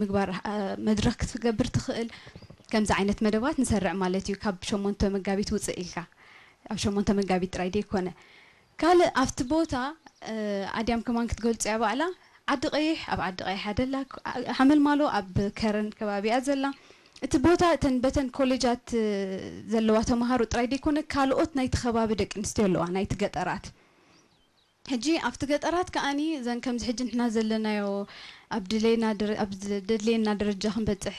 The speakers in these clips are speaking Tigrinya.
ምግባር መድረኽ ክትገብር ትኽእል። ከምዚ ዓይነት መደባት ንሰርዕ ማለት እዩ። ካብ ሸሞንተ መጋቢት ውፅእ ኢልካ፣ ኣብ ሸሞንተ መጋቢት ጥራይ ደይኮነ። ካልእ ኣብቲ ቦታ ኣድያም ከማን ክትገልፁ እያ ባዕላ። ዓዲ ቀይሕ፣ ኣብ ዓዲ ቀይሕ ኣደላ፣ ሓመልማሎ ኣብ ከረን ከባቢያ ዘላ። እቲ ቦታ እተን በተን ኮሌጃት ዘለዋ ተምሃሮ ጥራይ ደይኮነ፣ ካልኦት ናይቲ ከባቢ ደቂ ኣንስትዮ ኣለዋ፣ ናይቲ ገጠራት። ሕጂ ኣብቲ ገጠራት ከኣኒ እዘን ከምዚ ሕጂ ንሕና ዘለናዮ ኣብ ድሌና ኣብ ዘድልየና ደረጃ ክንበፅሕ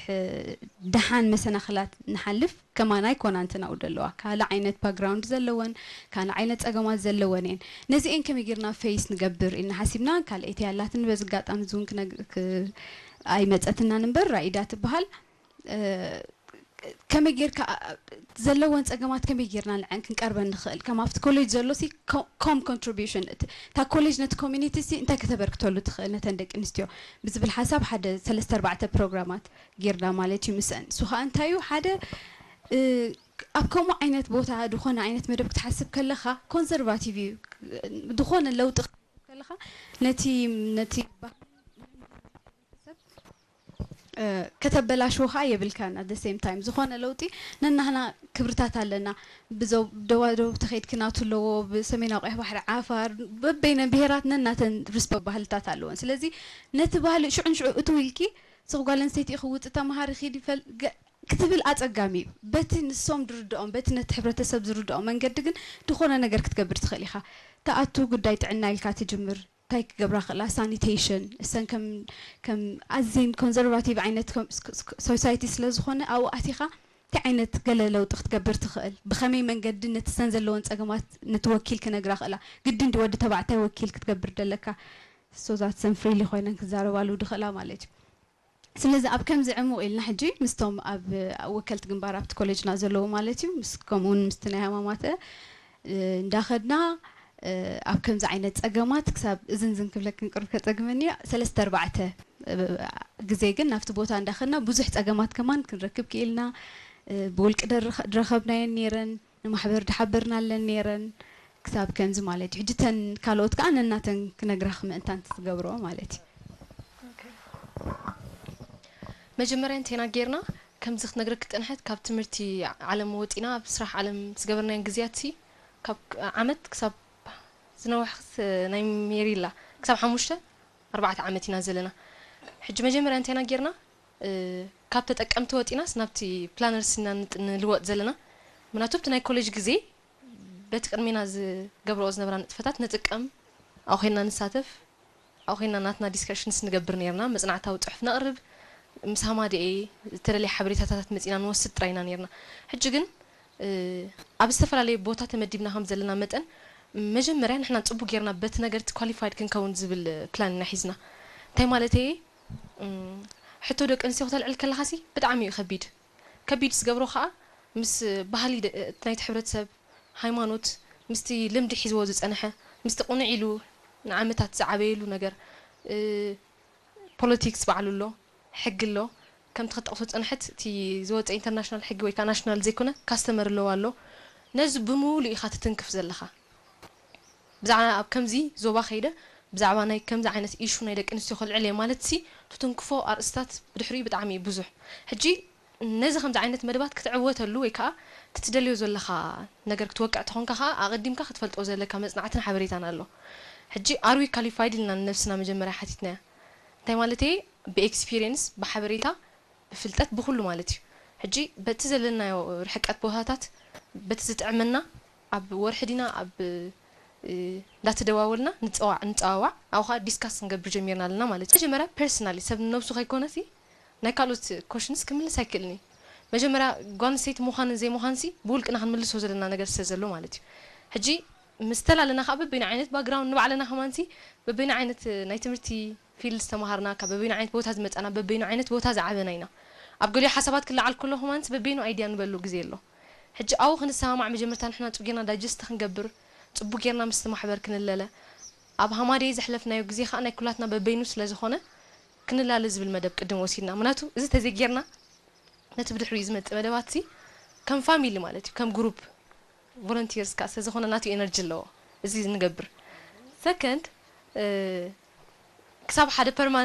ደሓን መሰናኽላት ንሓልፍ ከማና ኣይኮናን ትናውዶ ኣለዋ። ካልእ ዓይነት ባክግራውንድ ዘለወን፣ ካልእ ዓይነት ፀገማት ዘለወን እየን። ነዚኤን ከመይ ጌርና ፌስ ንገብር ኢልና ሓሲብና። ካልኣይቲ ያላትን በዚ ኣጋጣሚ እዚ እውን ኣይመፀትናን እምበር ራኢዳ ትበሃል። ከመይ ጌርካ ዘለወን ፀገማት ከመይ ጌርና ንዐን ክንቀርበን ንኽእል? ከም ኣብቲ ኮሌጅ ዘሎ ሲ ኮም ኮንትሪቢሽን እታ ኮሌጅ ነቲ ኮሚኒቲ ሲ እንታይ ከተበርክተሉ ትኽእል ነተን ደቂ ኣንስትዮ ብዝብል ሓሳብ ሓደ ሰለስተ ኣርባዕተ ፕሮግራማት ጌርና ማለት እዩ። ምስአን እሱ ከዓ እንታይ እዩ ሓደ ኣብ ከምኡ ዓይነት ቦታ ዝኾነ ዓይነት መደብ ክትሓስብ ከለኻ ኮንሰርቫቲቭ እዩ። ዝኾነ ለውጢ ክትሓስብ ከለኻ ነቲ ነቲ ከተበላሽዎ ከዓ የብልካን። ኣት ሴም ታይም ዝኾነ ለውጢ ነናህና ክብርታት ኣለና። ብደቡብ ተኸይድኪ ናቱ ኣለዎ፣ ብሰሜናዊ ቀይሕ ባሕሪ ዓፋር፣ በበይነ ብሄራት ነናተን ሪስፖ ባህልታት ኣለዎን። ስለዚ ነቲ ባህሊ ሽዑን ሽዑ እትው ኢልኪ ስቕ ጓል ኣንስተይቲ ክውፅ ተምሃሪ ኪድ ይፈል ክትብል ኣፀጋሚ እዩ። በቲ ንሶም ዝርድኦም በቲ ነቲ ሕብረተሰብ ዝርድኦም መንገዲ ግን ዝኾነ ነገር ክትገብር ትኽእል ኢኻ። ተኣቱ ጉዳይ ጥዕና ኢልካ ትጅምር። እንታይ ክገብራ ክእላ ሳኒቴሽን እሰን ከም ከም ኣዝየን ኮንዘርቫቲቭ ዓይነት ሶሳይቲ ስለ ዝኾነ ኣብኡ ኣቲኻ እንታይ ዓይነት ገለ ለውጢ ክትገብር ትኽእል ብኸመይ መንገዲ ነቲ ሰን ዘለዎን ፀገማት ነቲ ወኪል ክነግራ ክእላ ግድን ዲ ወዲ ተባዕታይ ወኪል ክትገብር ደለካ ሶዛት ሰን ፍሪሊ ኮይነን ክዛረባሉ ድኽእላ ማለት እዩ። ስለዚ ኣብ ከምዚ ዕሙቕ ኢልና ሕጂ ምስቶም ኣብ ወከልቲ ግንባር ኣብቲ ኮሌጅና ዘለዉ ማለት እዩ ምስ ከምኡውን ምስቲ ናይ ሃማማተ እንዳኸድና ኣብ ከምዚ ዓይነት ፀገማት ክሳብ እዝን ዝን ክብለክን ቅርብ ከፀግመኒ ሰለስተ ኣርባዕተ ግዜ ግን ናብቲ ቦታ እንዳኸድና ብዙሕ ፀገማት ከማን ክንረክብ ክኢልና ብውልቂ ድረኸብናየን ነይረን ንማሕበር ድሓበርናለን ነይረን ክሳብ ከምዚ ማለት እዩ ሕጂ ተን ካልኦት ከዓ ነናተን ክነግራኽ ምእንታን ዝገብርኦ ማለት እዩ። መጀመርያ እንቴና ጌርና ከምዚ ክትነግረኪ ዝፀንሐት ካብ ትምህርቲ ዓለም ወፂና ኣብ ስራሕ ዓለም ዝገበርናየን ግዜያት ሲ ካብ ዓመት ክሳብ ዝነውሕ ናይ ሜሪላ ክሳብ ሓሙሽተ ኣርባዕተ ዓመት ኢና ዘለና። ሕጂ መጀመርያ እንቴና ጌርና ካብ ተጠቀምቲ ወፂናስ ናብቲ ፕላነርስ ኢና ንልወጥ ዘለና። ምክንያቱ ኣብቲ ናይ ኮሌጅ ግዜ በቲ ቅድሜና ዝገብረኦ ዝነበራ ንጥፈታት ንጥቀም፣ ኣብኡ ኮይንና ንሳተፍ፣ ኣብኡ ኮይንና ናትና ዲስከሽንስ ንገብር ነይርና፣ መፅናዕታዊ ፅሑፍ ነቕርብ፣ ምስ ሃማደኤ ዝተደለየ ሓበሬታታት መፂና ንወስድ ጥራይ ኢና ነይርና። ሕጂ ግን ኣብ ዝተፈላለየ ቦታ ተመዲብና ከም ዘለና መጠን መጀመርያ ንሕና ፅቡቅ ጌርና በቲ ነገር እቲ ኳሊፋይድ ክንከውን ዝብል ፕላን ኢና ሒዝና። እንታይ ማለተይ ሕቶ ደቂ ኣንስትዮ ክተልዕል ከለኻ ሲ ብጣዕሚ እዩ ከቢድ። ከቢድ ዝገብሮ ከዓ ምስ ባህሊ ናይቲ ሕብረተሰብ፣ ሃይማኖት፣ ምስቲ ልምዲ ሒዝዎ ዝፀንሐ፣ ምስቲ ቅኑዕ ኢሉ ንዓመታት ዝዓበየሉ ነገር፣ ፖለቲክስ ባዕሉ ኣሎ፣ ሕጊ ኣሎ። ከምቲ ከጠቕሶ ዝፀንሐት እቲ ዝወፀ ኢንተርናሽናል ሕጊ ወይ ከዓ ናሽናል ዘይኮነ ካስተመሪ ሎው ኣሎ። ነዚ ብምሉእ ኢኻ ትትንክፍ ዘለኻ። ብዛዕባ ኣብ ከምዚ ዞባ ከይደ ብዛዕባ ናይ ከምዚ ዓይነት ኢሹ ናይ ደቂ ኣንስትዮ ከልዕል እየ ማለት ሲ ትትንክፎ ኣርእስታት ብድሕሪኡ ብጣዕሚ እዩ ብዙሕ። ሕጂ ነዚ ከምዚ ዓይነት መደባት ክትዕወተሉ ወይ ከዓ ትትደልዮ ዘለኻ ነገር ክትወቅዕ ተኾንካ ከዓ ኣቐዲምካ ክትፈልጦ ዘለካ መፅናዕትን ሓበሬታን ኣሎ። ሕጂ ኣር ዊ ኳሊፋይድ ኢልና ንነብስና መጀመርያ ሓቲትናያ። እንታይ ማለት እየ? ብኤክስፒሪየንስ፣ ብሓበሬታ፣ ብፍልጠት፣ ብኩሉ ማለት እዩ። ሕጂ በቲ ዘለናዮ ርሕቀት ቦታታት በቲ ዝጥዕመና ኣብ ወርሒ ዲና ኣብ እንዳተደዋወልና ንፀዋዕ ንፀዋዋዕ ኣብኡ ከዓ ዲስካስ ክንገብር ጀሚርና ኣለና ማለት እዩ። መጀመርያ ፐርሰናሊ ሰብ ንነብሱ ከይኮነሲ ናይ ካልኦት ኮሽንስ ክምልስ ኣይክእልን እዩ። መጀመርያ ጓል ኣንስተይቲ ምዃንን ዘይምዃንሲ ብውልቅና ክንምልሶ ዘለና ነገር ስለ ዘሎ ማለት እዩ። ሕጂ ምስ ተላለና ከዓ በበይኑ ዓይነት ባክግራውንድ ንባዕልና ከማንሲ በበይኑ ዓይነት ናይ ትምህርቲ ፊልድ ዝተምሃርና ካብ በበይኑ ዓይነት ቦታ ዝመፃና በበይኑ ዓይነት ቦታ ዝዓበና ኢና። ኣብ ገሊኡ ሓሳባት ክለዓል ከሎ ከማንሲ በበይኑ ኣይድያ ንበሉ ግዜ ኣሎ። ሕጂ ኣብኡ ክንሰማማዕ መጀመርታ ንሕና ፅቡቅ ጌርና ዳይጀስት ክንገብር ፅቡቅ ጌርና ምስቲ ማሕበር ክንለለ ኣብ ሃማደይ ዘሕለፍናዮ ግዜ ከዓ ናይ ኩላትና በበይኑ ስለ ዝኾነ ክንላለ ዝብል መደብ ቅድም ወሲድና ምክንያቱ እዚ ተዘይጌርና ነቲ ብድሕሪኡ ዝመፅእ መደባት ሲ ከም ፋሚሊ ማለት እዩ ከም ግሩፕ ቮለንቲርስ ከዓ ስለዝኾነ ናቱ ኤነርጂ ኣለዎ እዚ ንገብር ሰከንድ ክሳብ ሓደ ፐርማነንት